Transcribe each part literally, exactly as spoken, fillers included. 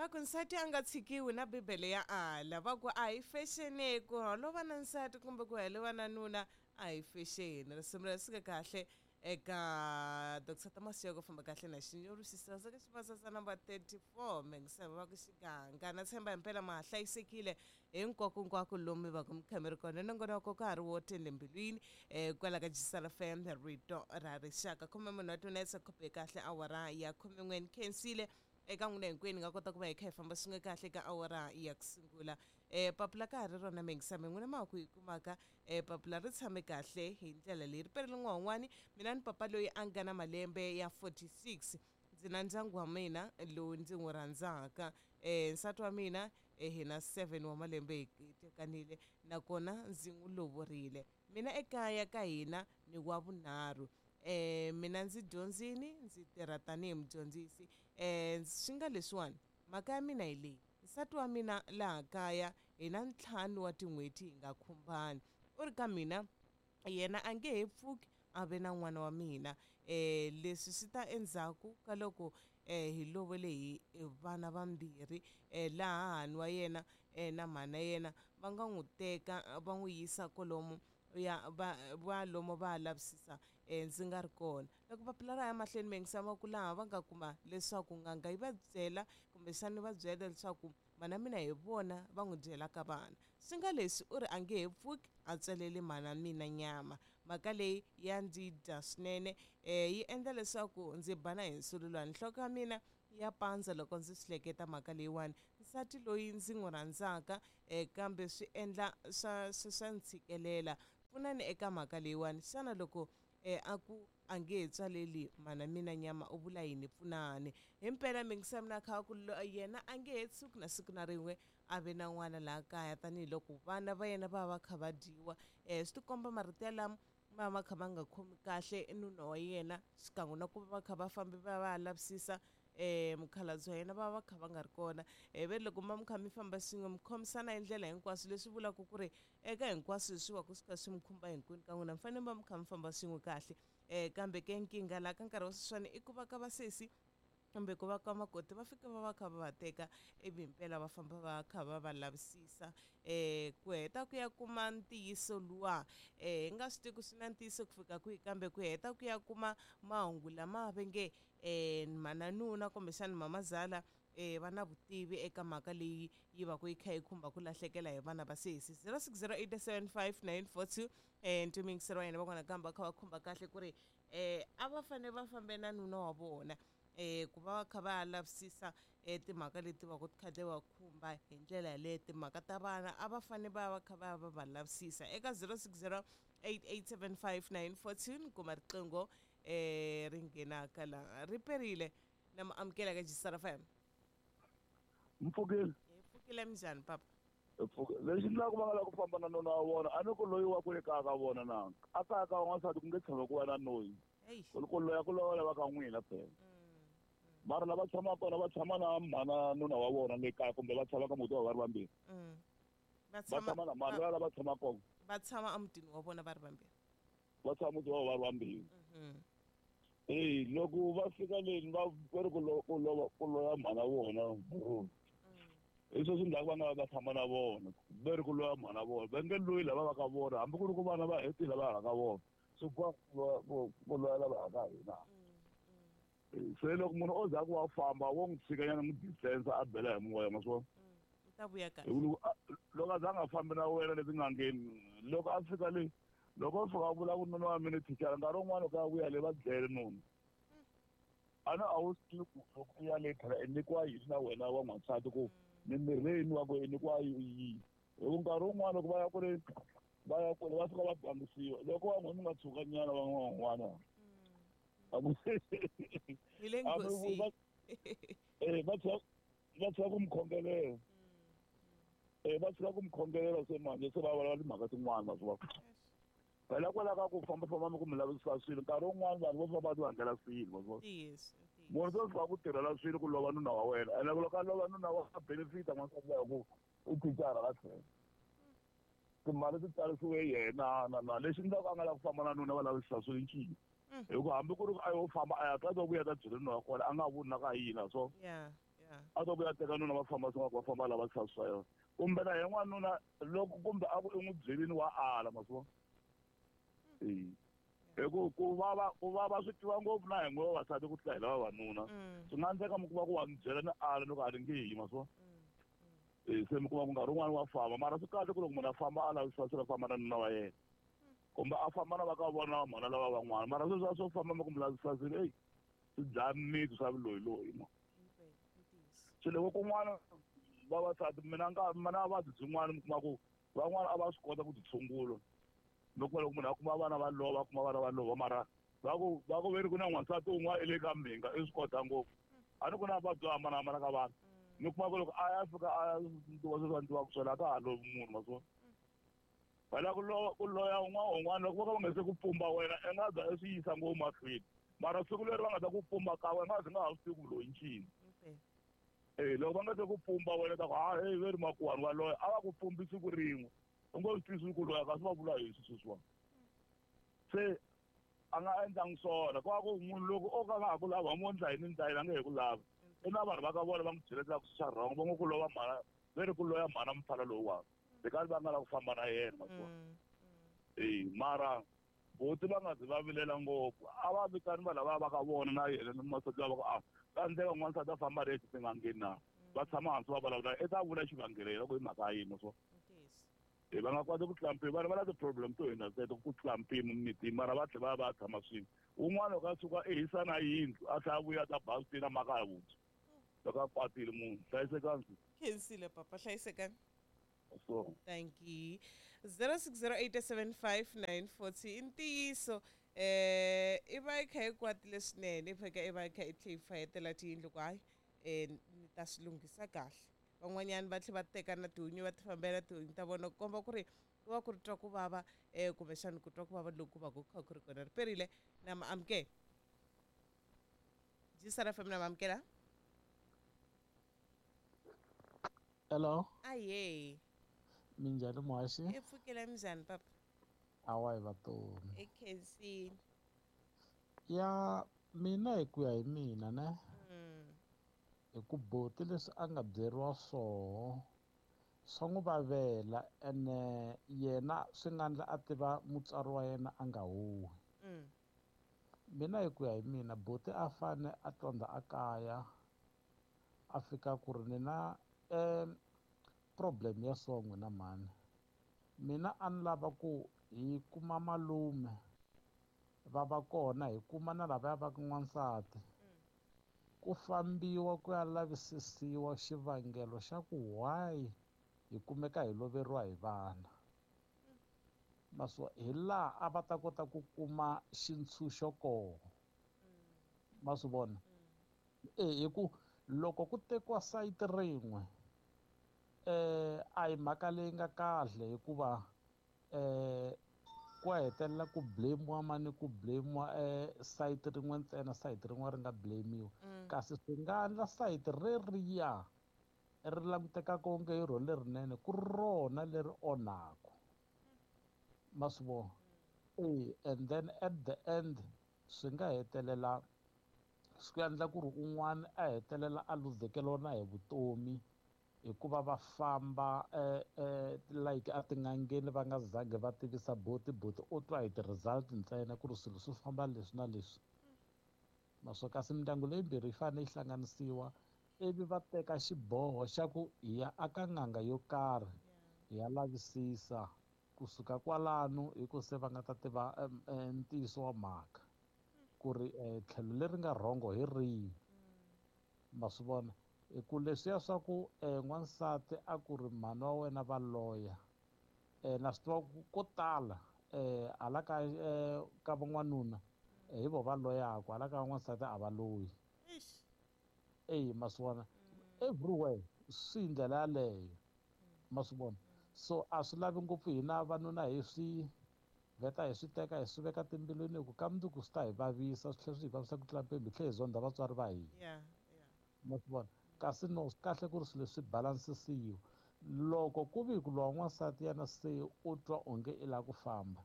Va ku nsati a nga tshikiwi na Bibele ya ala. Va ku a hi fexeni ku holova na nsati kumbe ku heleva na nuna a hi fexeni. Risimu leri suka kahle eka Doctor Thomas Chauke famba kahle na Xinyori Xisasa ka Xivasasa number thirty-four Mengisava va ku xiganga na tshemba himpela ma hlayisekile hinkwako hinkwako lomu va ku mi kha mi ri kona. Nongonoko ka ha ri wo tele mbilwini eh kwala ka Jisala F M rito ra rixaka khume munhu wa tunesa khope kahle awara ya khume n'we ni khensile eka n'wina hinkwenu nga kota ku va hi kha hi famba swin'we kahle ka awara ya ku sungula. Eh papila ka ha ri rona Mengisame n'wina ma ku yi kumaka eh papila ri tshame kahle hi ndlela leyi ri perile n'wan'wani mina ni papa loyi a nga na malembe ya forty-six ndzi na ndyangu wa mina lowu ndzi n'wi rhandzaka eh nsati wa mina eh hina seven wa malembe hi tekanile nakona ndzi n'wi lovorile mina ekaya ka hina ni wa vunharhu. Eh mina ndzi dyondzini ndzi tirha tanihi mudyondzisi eh swi nga leswiwani mhaka ya mina hi leyi nsati wa mina laha kaya hi na ntlhanu wa tin'hweti hi nga khumbani u ri ka mina yena a nge he pfuki a ve na n'wana wa mina eh leswi swi ta endzhaku ka loko eh hi lovele hi vana vambirhi eh laha hahani wa yena eh na mhana yena va nga n'wi teka va n'wi yisa kolomo ya va va lomo va lavisisa eh ndzi nga ri kona loko papila ra ya mahlweni Mengisama ku laha va nga kuma leswaku nganga yi va byela kumbexana va byela leswaku mana mina hi vona va n'wi byelaka vana swi nga leswi u ri a nge he pfuki a tswalele mana mina nyama mhaka leyi ya ndzi dya swinene eh yi endla leswaku ndzi bana hi nsululwana nhloko ya mina ya pandza loko ndzi swi hleketa mhaka leyiwani nsati loyi ndzi n'wi rhandzaka eh kambe swi endla swa swa ntshikelela pfunani eka mhaka leyiwani xana loko eh a ku a nge he tswaleli mana mina nyama u vula yini pfunani himpela Mengisame na kha ku yena a nge he tshuki na siku na rin'we a ve na n'wana laha kaya tanihiloko vana va yena va va kha va dyiwa eh swi tikomba marito yalamo ma va kha va nga khomi kahle nuna wa yena xikan'we na ku va va kha va fambi va va lavisisa eh mukhalabye wa yena va va kha va nga ri kona eh ve loko ma mi kha mi famba swin'we mi khomisana hi ndlela hinkwaswo leswi vulaka ku ri eka hinkwaswo leswi va ku swi kha swi mi khumba hinkwenu ka n'wina mi fanele mi va mi kha mi famba swin'we kahle eh kambe ke nkingha laha ka nkarhi wa sweswiwani i ku va ka vasesi kumbe ku va ka makoti va fika va va kha va va teka ivi himpela va famba va kha va va lavisisa eh ku heta ku ya kuma ntiyiso luwa eh hi nga swi tivi ku swi na ntiyiso ku fika kwihi kambe ku heta ku ya kuma mahungu lama va nge eh mananuna kumbexana mamazala eh va na vutivi eka mhaka leyi yi va ku yi kha yi khumba ku lahlekela hi vana va sesi zero six zero eight seven five nine four two eh ntimingiselo wa yena van'wana kambe va kha va khumba kahle ku ri eh a va fanele va fambe na nuna wa vona eh ku va kha va lavisisa eh timhaka leti va ku kha ti va khumba hi ndlela yaleyo timhaka ta vana a va fanele va va kha va va va lavisisa eka zero six zero eight eight seven five nine four two ni kuma riqingho eh ri nghenaka laha ri perile na mi amukela ka Jisara F M. Mpfukile hi pfukile minjhani papa? Lexi endlaka va nga lava ku famba na nuna wa vona a ni ku loyi wa ku le kaya ka vona na a kaya ka n'wansati ku nge tshami ku va na noyi ku loya ku loya lava ka n'wina phela mara lava tshamaka kona va tshama na mhana nuna wa vona le kaya kumbe va tshama ka muti wa va ri vambirhi va tshama na mhana lava va tshama kona va tshama emutini wa vona va ri vambirhi va tshama muti wa va ri vambirhi eh loko va fika leni va va ri ku ku lova ku loya mhana vona hi sweswi endlaka va nga va tshama na vona va ri ku loya mhana vona va nge loyi lava va ka vona hambi ku ri ku vana va hetile lava ha ka vona swi boha ku loya lava ha ka hina. Se loko munhu o za ku wa famba wo n'wi tshikanyana n'wi distance a bela hi moya ma swi vona u ta vuya kahle loko a za a nga fambi na wena le tin'angeni loko a fika le loko o fika a vula ku nuna wa mina thicara nkarhi wun'wana loko a vuya le va dlele nuna a na a wu swi tivi ku loko u ya le phela i nyikiwa yini na wena wa n'wansati ku mimirhi leyi nwiwaka i nyikiwa yihi hi ku nkarhi wun'wana loko va ya ku ri va ya kule va fika va bangisiwa loko va n'we mi nga tshukanyana va n'wan'wana hi le nghozini eh va tshika va tshika ku mi khongelela eh va tshika ku mi khongelela se manje se va vulavula timhaka tin'wana ma swi vona phela kwalaho ka ku fambafamba mi ku mi lavisisa swilo nkarhi wun'wana vanhu vo famba va ti vangela swilo ma swi vona munhu se fika ku tirhela swilo ku lova nuna wa wena ene loko a lova nuna wa benefita n'wansati wa ku u thicara ka tlhelo timali ti tsarisiwe yena na na lexi endlaka a nga lava ku famba na nuna va lavisisa swilo ncini hikuva hambi ku ri a yo famba a ya twa vuya ta byela nuna wa kona a nga voni na ka yini so A to ku ya teka nuna va famba swin'wana va famba lava swa swa yona. Kumbe na yena n'wanuna loko kumbe a ku i n'wi byelini wa ala ma swi vona. Eh. Hi ku ku vava ku vava swi twiwa ngopfu na hi n'we vavasati ku tlula hi lava vavanuna. Swi nga endleka mi kuma ku wa mi byela ni ala loko a ri nge yi ma swi vona. Eh se mi kuma ku nkarhi wun'wani wa famba mara swi kahle ku loko munhu a famba a lavisisa swilo a famba na nuna wa yena. Kumbe a famba na va ka vona mhana lava van'wana mara sweswi a swo famba mi ku mi lavisisa swilo eyi swi dlaya mmitsu swa vuloyiloyi ma. Se loko kun'wana vavasati mina nga mina vuvabyi byin'wana mi kuma ku van'wana a va swi kota ku ti tshungula. Loko loko munhu a kuma vana va lova a kuma vana va lova mara va ku va ku veri ku na n'wansati un'wana i le ka mhinga i swi kota ngopfu. A ni ku na vuvabyi byo hambanahambana ka vanhu. Mi kuma ku loko a ya fika a ya ndliwa sweswi a ndliwaka swona a ka ha lovi munhu ma swi vona. Phela ku loya ku loya un'wana un'wana loko vo ka va nga se ku pumba wena i nga za i swi yisa ngopfu mahlweni. Mara siku leri va nga ta ku pumba ka wena nga zi nga ha swi tivi ku loyi ncini. Eh loko va nga se ku pumba wena ta ku ha hey veri makuwani wa loya a va ku pumbi siku rin'we. U ngo swi twisisi ku loya kasi va vula hi sweswi sweswiwani. Se a nga endlangi swona ku va ku munhu loko o ka nga ha ku lava mo ndla yini ndla yini a nge he ku lavi. I na vanhu va ka vona va n'wi byeletela ku swi wrong va ngo ku lova mhana veri ku loya mhana mufana lowuwani. Because va nga lava ku famba na yena ma swi vona. Eh mara buti va nga zi va vilela ngopfu a va vitani vanhu lava va ka vona na yena ni masati lava ku a ka endleka n'wansati a famba ri tin'angeni na va tshama hansi va vulavula i ta vula xivangelo yena ku i mhaka ya yini ma swi vona. Eh va nga koti ku tlula mpimo vanhu va na ti-problem to hundza teto ku tlula mpimo mimitini mara va tlhela va ya va ya tshama swin'we. Wun'wana loko a suka i hisa na yindlu a tlhela a vuya a ta ba switina makaya vuntshwa loko a kwatile munhu hlayisekani. Khensile papa hlayisekani. So Thank you. zero six zero eight seven five nine four two i ntiyiso eh i va yi kha yi kwatile swinene i fika i va yi kha i tlhe yi fayetela tiyindlu ku hayi eh ni ta swi lunghisa kahle. Van'wanyani va tlhe va teka na tihunyi va ti fambela tihunyi ta vona ku komba ku ri ku va ku ri twa ku vava eh kumbexana ku twa ku vava loku va ku kha ku ri kona ri perile na ma amukela. G S R F M na ma amukela. Hello. Ahee. Minjhani muhaxi? I pfukile minjhani papa? Awa hi vatomi. I khensile. Ya mina hi ku ya hi mina ne. Mm. Hi ku buti leswi a nga byeriwa swoho swa n'wi vavela ene yena swi nga endla a tiva mutswari wa yena a nga huhi. Mm. Mina hi ku ya hi mina buti a fane a tondza a kaya a fika ku ri ni na um problem ya so n'wina mhani. Mina a ni lava ku hi kuma malume va va kona hi kuma na lavaya va ka n'wansati. Ku fambiwa ku ya lavisisiwa xivangelo xa ku why hi kumeka hi loveriwa hi vana. Maswo hi laha a va ta kota ku kuma xintshunxo kona. Ma swi vona? Eh hi ku loko ku tekiwa sayiti rin'we eh a hi mhaka leyi nga kahle hikuva eh ku hetelela ku blame-iwa mani ku blame-iwa eh sayiti rin'we ntsena sayiti rin'we ri nga blame-iwi. Kasi swi nga endla sayiti reriya ri langutekaka onge hi rona lerinene ku ri rona leri onhaka. Ma swi vona? Eh and then at the end swi nga hetelela swi endla ku ri un'wana a hetelela a luzekeriwa na hi vutomi hikuva va famba eh eh like a tin'angeni va nga zangi va tivisa buti buti u twa hi ti-result ntsena ku ri swilo swi famba leswi na leswi. Naswona kasi mindyangu leyimbirhi yi fanele yi hlanganisiwa ivi va teka xiboho xa ku hi ya aka n'anga yo karhi hi ya lavisisa kusuka kwalano hi ku se va nga ta tiva ntiyiso wa mhaka ku ri tlhelo leri nga rhongo hi rihi. Ma swi vona? Hi ku leswiya swa ku n'wansati a ku ri mhani wa wena va loya na swi tiva ku ko tala hala ka ka van'wanuna hi vo va loyaka hala ka van'wansati a va loyi. Eh ma swi vona? Everywhere swi hi ndlela yaleyo. Ma swi vona? So a swi lavi ngopfu hina vanuna hi swi vheta hi swi teka hi swi veka timbilwini hi ku ka mundzuku swi ta hi vavisa swi tlhela swi hi vavisa ku tlula mpimo hi tlhela hi zondha vatswari va hina. Yeah, yeah. Ma swi vona? Kasi no swi kahle ku ri swilo leswi balansisiwa. Loko ku vi ku lowa n'wansati yena se u twa onge i lava ku famba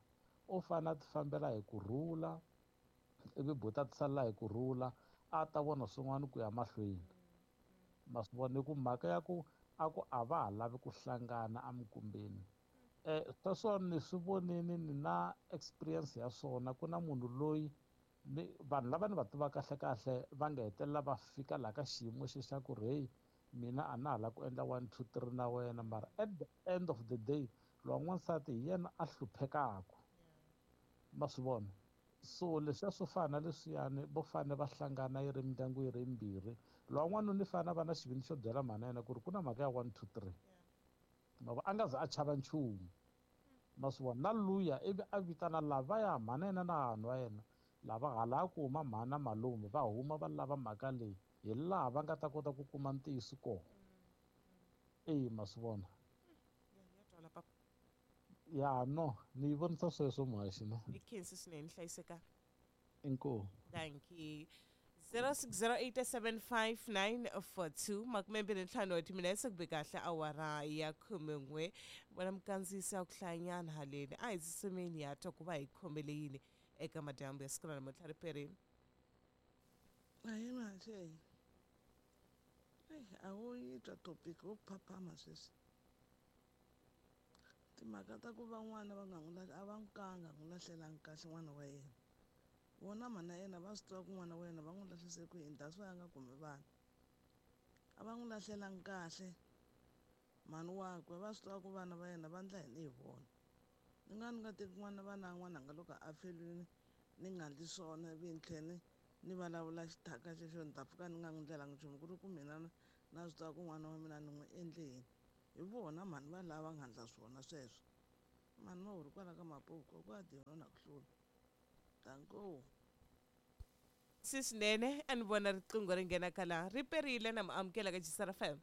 u fanele a ti fambela hi kurhula ivi buti a ti salela hi kurhula a ta vona swin'wana ku ya mahlweni. Ma swi vona hi ku mhaka ya ku a ku a va ha lavi ku hlangana emikumbeni. um sweswo ni swi vonini ni na experience ya swona. Ku na munhu loyi ni vanhu lava ni va tivaka kahle kahle va nga hetelela va fika laha ka xiyimo xe xa ku ri heyi, mina a na ha lava ku endla one two three na wena, mara at the end of the day lowa n'wansati hi yena a hluphekaku. Ma swi vona? So leswiya swo fana na leswiyani, vo fane va hlangana yi ri mindyangu yi ri yimbirhi. Lowa n'wanuna i fane a va na xivindzi xo byela mhana yena ku ri ku na mhaka ya one two three, ma vo, a nga ze a chava nchumu. Ma swi vona? Na luya ivi a vitana lavaya mhana yena na vanhu va yena lava hala ku huma mhana malume, va huma va lava mhaka leyi hi laha va nga ta kota ku kuma ntiyiso kona. Eya, ma swi vona? Ya twala papa. Ya no, ni yi vonisa sweswo muhaxi ne. I khensi swinene, hlayiseka. Inkomu. Thank you. zero six zero eight seven five nine four two makume mbirhi ntlhanu wa timinetse ku be kahle awara ya khumen'we. Vona mukandziyisi ya ku hlayanyana haleni a hi tsutsumeni ya twa ku va hi khomele yini eka madyambu ya siku ra namuntlha. Riperini. Ahee muhaxi, eyi a wu yi twa topic wo phaphama sweswi. Timhaka ta ku va n'wana va nga n'wi lahli, a va n'wi kanga n'wi lahlelangi kahle n'wana wa yena. Vona mhana yena va swi tiva ku n'wana wa yena va n'wi lahlise ku yini, that's why a nga kumi vana. A va n'wi lahlelangi kahle mhani wakwe, va swi tiva ku vana va yena va ndla yini hi vona. Ni nga ni nga teki n'wana vana n'wananga loko a feriwile ni nga ndli swona ivi ni tlhela ni ni vulavula xithaka xexo ni ta pfuka ni nga n'wi ndlelanga nchumu, ku ri ku mina na swi tiva ku n'wana wa mina ni n'wi endle yini. Hi vona mhani va lava nga ndla swona sweswo. Mhani va huri kwala ka Mapuku ku a dino na ku hlula. Danko. Si swinene a ni vona riqingho ri nghena ka laha ri perile na mi amukela ka Jisara F M.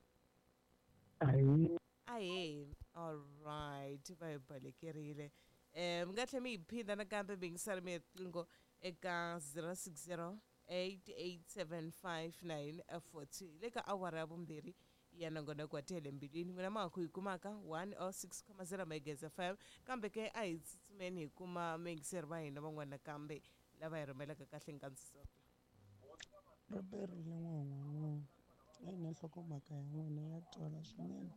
Ahee. Ahee. All right, va hi balekerile. Eh mi nga tlhela mi hi phinda nakambe mi yingisela mi riqingho eka zero six zero eight eight seven five nine four two le ka awara ya vumbirhi ya nongonoko wa Tele Mbilwini. N'wina ma ha ku hi kumaka one oh six comma zero Megahertz F M, kambe ke a hi tsutsumeni hi kuma muyingiseri va hina van'wana nakambe lava hi rhumelaka kahle nkandziso. Riperile n'wan'wana, eyi na nhlokomhaka ya n'wina ya twala swinene.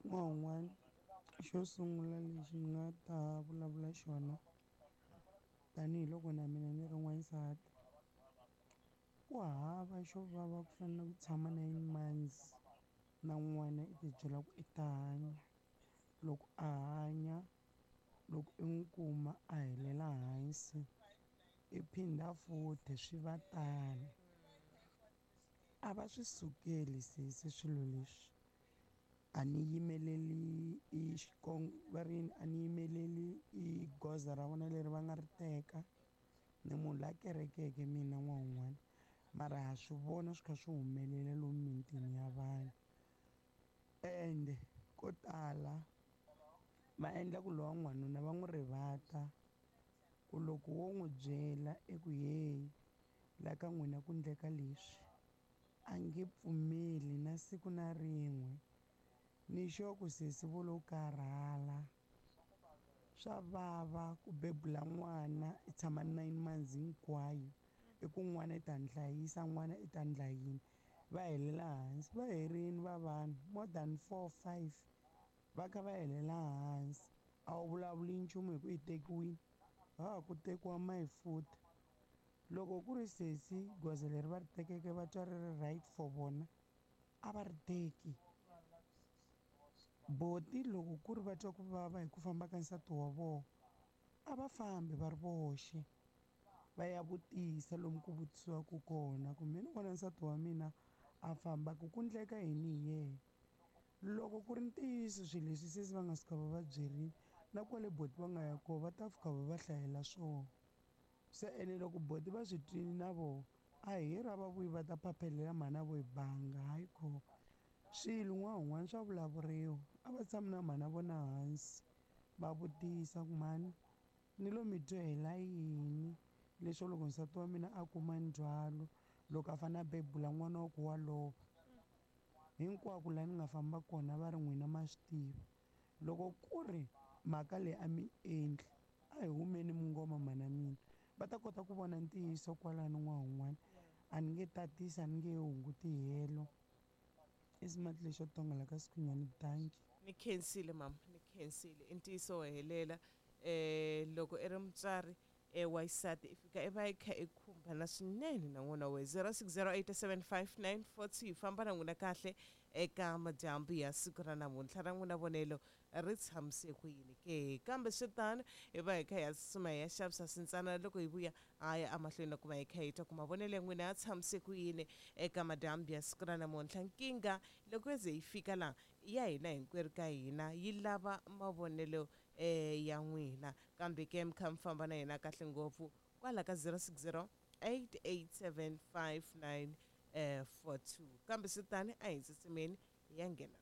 N'wan'wana, xo sungula lexi ni nga ta vulavula xona tanihiloko na mina ni ri n'wansati, ku hava xo vava ku fana na ku tshama nine months na n'wana i ti byela ku i ta hanya. Loko a hanya, loko i n'wi kuma a helela hansi, i phinda futhi swi va tano. A va swi sukeli sesi swilo leswi. A ni yimeleli i xikong va ri yini, a ni yimeleli i goza ra vona leri va nga ri teka. Ni munhu la kerekeke mina n'wan'wana, mara ha swi vona swi kha swi humelela lomu mitini ya vanhu. Ende ko tala va endla ku lowa n'wanuna va n'wi rivata ku loko wo n'wi byela eku heyi la ka n'wina ku ndleka leswi, a nge pfumeli na siku na rin'we. Ni sure ku sesi vo lo karhala. Swa vava ku bebula n'wana i tshama nine months hinkwayo, i ku n'wana i ta ni hlayisa, n'wana i ta ndla yini, va helela hansi. Va herini va vanhu more than four five va kha va helela hansi. A wu vulavuli nchumu hi ku i tekiwile, ha ku tekiwa mayifuta. Loko ku ri sesi goza leri va ri tekeke va twa ri ri right for vona, a va ri teki. Boti loko ku ri va twa ku vava hi ku famba ka nsati wa vona, a va fambi va ri voxe va ya vutisa lomu ku vutisiwaka kona ku mina ni vona nsati wa mina a famba ku ku ndleka yini hi yena. Loko ku ri ntiyiso swilo leswi sesi va nga suka va va byerile, na kwale boti va nga ya kona va ta fika va va hlayela swona. Se ene loko boti va swi twile na vona, a hi ra va vuyi va ta phaphelela mhana vo hi banga, hayi kho. Swilo n'wana wun'wana swa vulavuriwa, a va tshami na mhana vona hansi va vutisa ku mhani ni lo mi dyohela yini leswo loko nsati wa mina a kuma ndzhwalo loko a fanele a bebula n'wana wa ku wa lova. Hinkwako laha ni nga famba kona va ri n'wina ma swi tiva. Loko ku ri mhaka leyi a mi endli, a hi humeni mungoma mhana mina, va ta kota ku vona ntiyiso kwalano n'wana wun'wana. A ni nge tatisi, a ni nge hunguti helo. I smart lexo tonga la ka Sikhunyani, dankie. Ni khensile mama, ni khensile. I ntiyiso wo helela um loko i ri mutswari um wa xisati i fika i va i kha i khumbana swinene na n'wana wa wena. zero six zero eight seven five nine four two, hi famba na n'wina kahle eka madyambu ya siku ra namuntlha. Ra n'wina vonelo ri tshamise ku yini ke? Kambe swi tano, hi va hi kha hi ya tsutsuma hi ya xavisa swintsana. Loko hi vuya ha ya emahlweni na ku va hi kha hi twa ku mavonelo ya n'wina ya tshamise ku yini eka madyambu ya siku ra namuntlha. Nkingha loko yo ze yi fika laha ya hina hinkwerhu ka hina yi lava mavonelo um ya n'wina, kambe ke mi kha mi famba na hina kahle ngopfu kwala ka zero six zero eight eight seven five nine four two. Kambe swi tani, a hi tsutsumeni hi ya nghena.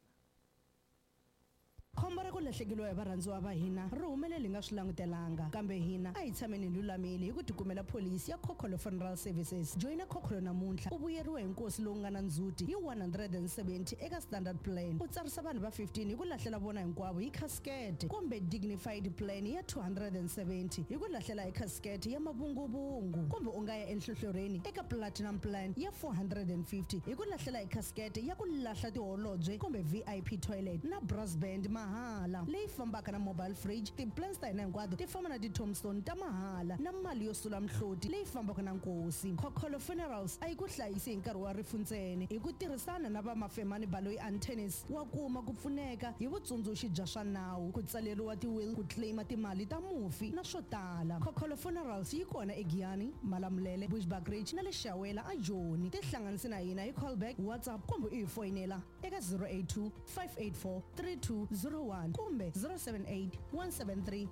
Khombo ra ku lahlekeriwa hi varhandziwa va hina ri humelele hi nga swi langutelanga, kambe hina a hi tshameni hi lulamile hi ku tikumela pholisi ya Khokholo Funeral Services. Joyina Khokholo namuntlha u vuyeriwa hi nkosi lowu nga na ndzhuti hi one hundred and seventy eka standard plan, u tsarisa vanhu va fifteen hi ku lahlela vona hinkwavo hi casket, kumbe dignified plan ya two hundred and seventy hi ku lahlela hi casket ya mavunguvungu, kumbe u nga ya enhlohlorheni eka platinum plan ya four hundred and fifty hi ku lahlela hi casket ya ku lahla tiholobye kumbe V I P toilet na brass band mahala leyi fambaka na mobile fridge. Ti-plans ta hina hinkwato ti famba na ti-tombstone ta mahala na mali yo sula mihloti leyi fambaka na nkosi. Khokholo Funerals a yi ku hlayisi hi nkarhi wa rifu ntsena. Hi ku tirhisana na va Mafemani Baloyi Antennas, wa kuma ku pfuneka hi vutsundzuxi bya swa nawu, ku tsaleriwa ti-will, ku claima timali ta mufi na swo tala. Khokholo Funerals yi kona eGiyani, Malamulele, Bushbuckridge na le Shawela a Joni. Tihlanganise na hina hi callback, WhatsApp kumbe u hi foyinela eka zero eight two, five eight four, three two zero one kumbe zero seven eight, one seven three,